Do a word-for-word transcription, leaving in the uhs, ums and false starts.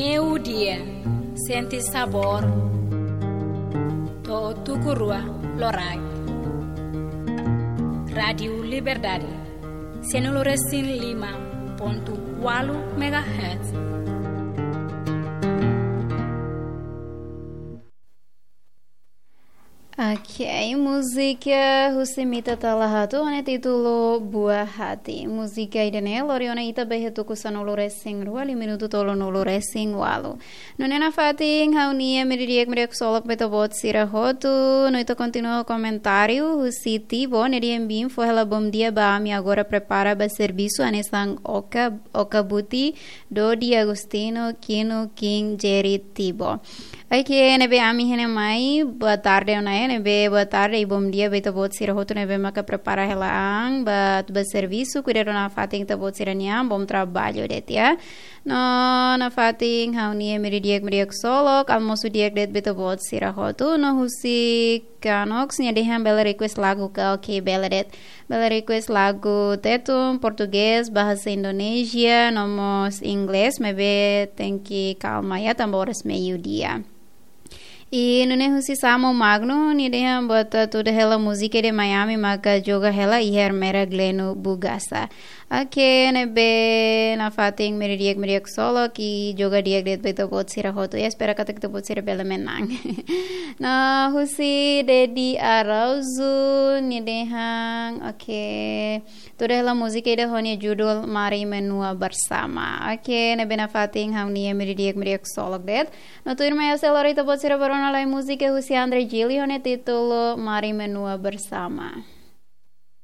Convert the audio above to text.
Meiudia, sente sabór. To'o tuku rua loraik. Rádiu Liberdade, sanulu-resin-lima pontu ualu megahertz. Ok, múzika husi Mita Talahatu ho nia títulu Buah Hati. Múzika ida-ne'e lori ona ita ba iha tuku sanulu-resin-rua, liu minutu tolunulu-resin-ualu. Nune'e nafatin ha'u-nia meiudia di'ak, meiudia ksolok ba ita-boot sira hotu. No ita kontinua ho komentáriu husi Tibo, nia dehan: "Biin, fó hela bom dia ba ami agora, prepara ba servisu, hanesan Oka, Oka Buti, Dodi, Agostinho, Kino, Kim, Jerry, Tibo." Ok, ne'ebé ami iha ne'e mai, boa tarde ona, ne'ebé boa tarde i bom dia ba ita-boot sira hotu ne'ebé maka prepara hela an ba, ba servisu, kuidadu nafatin ita-boot sira-nia an, bom trabalho de'it, ya. No nafatin ha'u-nia meiudia di'ak, meiudia ksolok, almosu di'ak de'it ba ita-boot sira hotu. No husi Kanox, nia dehan bele request lagu ka? Ok, bele de'it. Bele request lagu Tetun, Portugés, bahasa Indonesia, no mós Inglés, maibé tenke kalma ya, tanba oras meiudia. I nune'e husi Samo Magno, nia dehan buat tuda hela múzika de Miami maka joga hela iha Ermera Gleno Bugasa. Ok, ne'ebé nafatin meiudia di'ak, meiudia ksolok, i joga di'ak de'it ba ita-boot sira hotu, ya, espera katak ita-boot sira bele menang. No husi Dedi Arauzu, nia dehan, ok, tuda hela múzika ida ho nia judul Mari Menua Bersama. Ok, ne'ebé nafatin ha'u-nia meiudia di'ak, meiudia ksolok de'it. No tuirmai ha'u sei lori ita-boot sira ba rona lai múzika husi André Gili ho nia títulu Mari Menua Bersama.